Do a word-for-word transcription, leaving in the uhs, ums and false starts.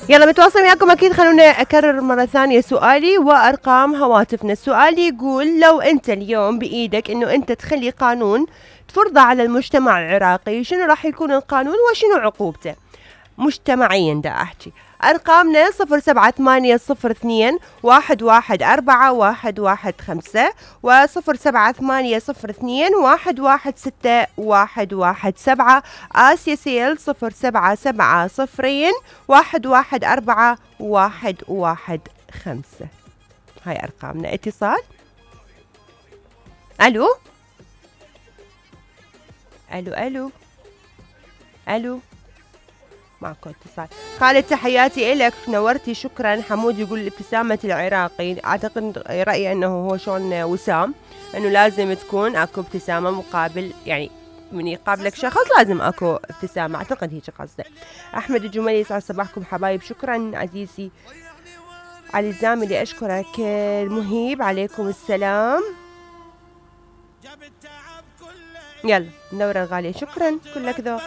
يلا متواصل وياكم اكيد. خلونا اكرر مرة ثانية سؤالي وارقام هواتفنا. السؤال يقول لو انت اليوم بايدك انه انت تخلي قانون تفرضه على المجتمع العراقي، شنو راح يكون القانون وشنو عقوبته؟ مجتمعيا دا احكي. ارقامنا صفر سبعة ثمانية صفر اثنين واحد واحد اربعة واحد واحد خمسة وصفر سبعة ثمانية صفر اثنين واحد واحد ستة واحد واحد سبعة. آسيا سيل صفر سبعة سبعة صفرين واحد واحد أربعة واحد واحد خمسة. هاي أرقامنا. اتصال. ألو ألو ألو ألو معكم اتصال. خالد تحياتي إلك، نورتي شكرا. حمود يقول ابتسامة العراقي، أعتقد رأيي أنه هو شلون وسام، أنه لازم تكون أكو ابتسامة مقابل، يعني من يقابلك شخص لازم أكو ابتسامة، أعتقد هيك قصده. أحمد الجمالي يسعد صباحكم حبايب. شكرا عزيزي علي الزاملي، أشكرك. المهيب عليكم السلام. يلا النورة الغالية، شكرا كلك ذوق.